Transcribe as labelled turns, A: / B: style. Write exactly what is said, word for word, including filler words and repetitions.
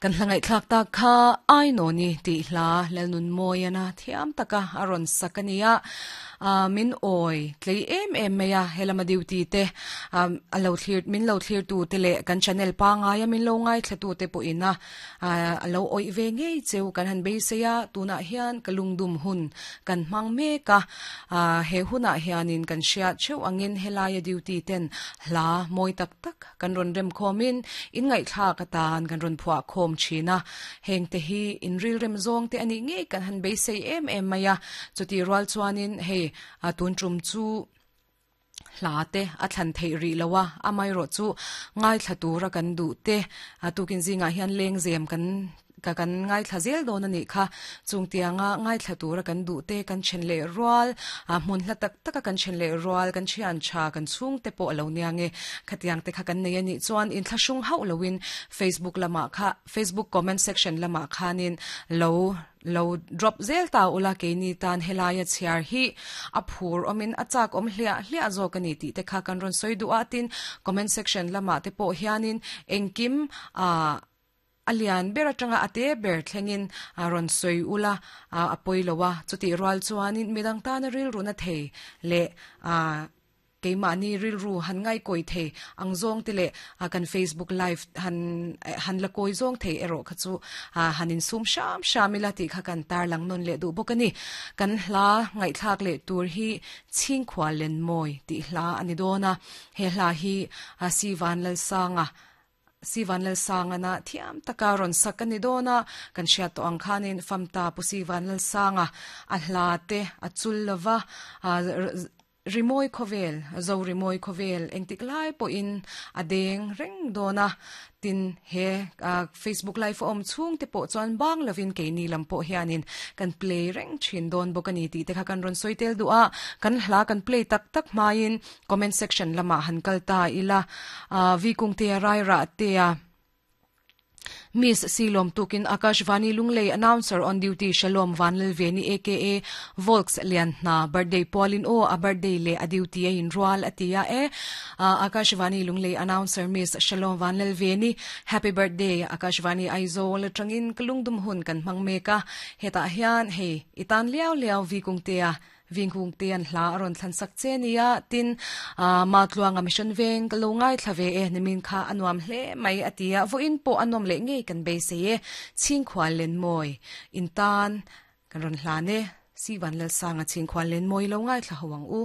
A: Kan hlangai thlak ta kha ai no ni ti hla lalnun moyana thiam taka aron sakania min oi tlei em em meya helama duty te alo thlir min lo thlir tu te le kan channel pa nga ya min lo ngai thlatu te po ina alo oi ve ngei cheu kan han beiseya tuna hian kalungdum hun kan mang me ka he huna hianin kan hria cheu angin helaya duty ten hla moi tak tak kan ron rem khomin in ngai thla ka tan kan ron phua khom china heng te hi in ril rem zong te ani ngei kan han beisei em em maya chuti rual chuanin hei atun trum chu hla te a thlan thei ri lowa amai ro chu ngai thlatura kan du te atukin zinga hian leng zem kan ka kan ngai thlazel don ani kha chungtianga ngai thlatura kan du te kan chen le rual a hmun hla tak taka kan chen le rual kan thian cha kan chung te po lo niange khatiang te kha kan nei ani chuan in thlashung hau lowin Facebook lama kha Facebook comment section lama khanin lo lo drop zel ta ula ke ni tan helaya chiar hi aphur omin achak om hlia hlia zo kani ti te kha kan ron soi du atin comment section lama te po hianin engkim a alian ber atanga ate ber thlengin ron soi ula apoilowa chuti rual chuanin midang tan ril runa thei le a keima ni ril ru han ngai koi thei angzong te le kan Facebook live han han la koi zong thei ero kha chu hanin sum sham shamila ti kha kan tar lang non le du bokani kan hla ngai thak le tur hi chingkhwa len moi ti hla ani dona he hla hi si van lal sanga si van lal sanga na thiam takaron sakani dona kan sia to ang khanin famta pu si van lal sanga a hla te a chul lova rimoi khovel zo rimoi khovel engtik lai po in adeng reng dona tin he Facebook live om chung te po chuan bang lovin ke ni lam po hianin kan play reng thin don bokani ti te kha kan ron soitel du a kan hla kan play tak tak main comment section lama han kalta ila vi kung te rai ra te a Miss Silom Tukin Akashvani Lunglei announcer on duty Shalom Vanlalveni aka Volks Lian na birthday Pauline o a birthday le a duty a in rual atia e Akashvani Lunglei announcer Miss Shalom Vanlalveni happy birthday Akashvani Aizawl tangin kalungdum hun kan mangmeka heta hian hei itan liao liao vi kungtea vingkung tian hla aron thlan sak chenia tin ma tluanga mission veng kalungai thlave e nimin kha anuam hle mai atia vo in po anom le nge kan be se e chingkhwa len moi in tan kan ron hla ne si van lal sanga chingkhwa len moi lo ngai thla hawang u.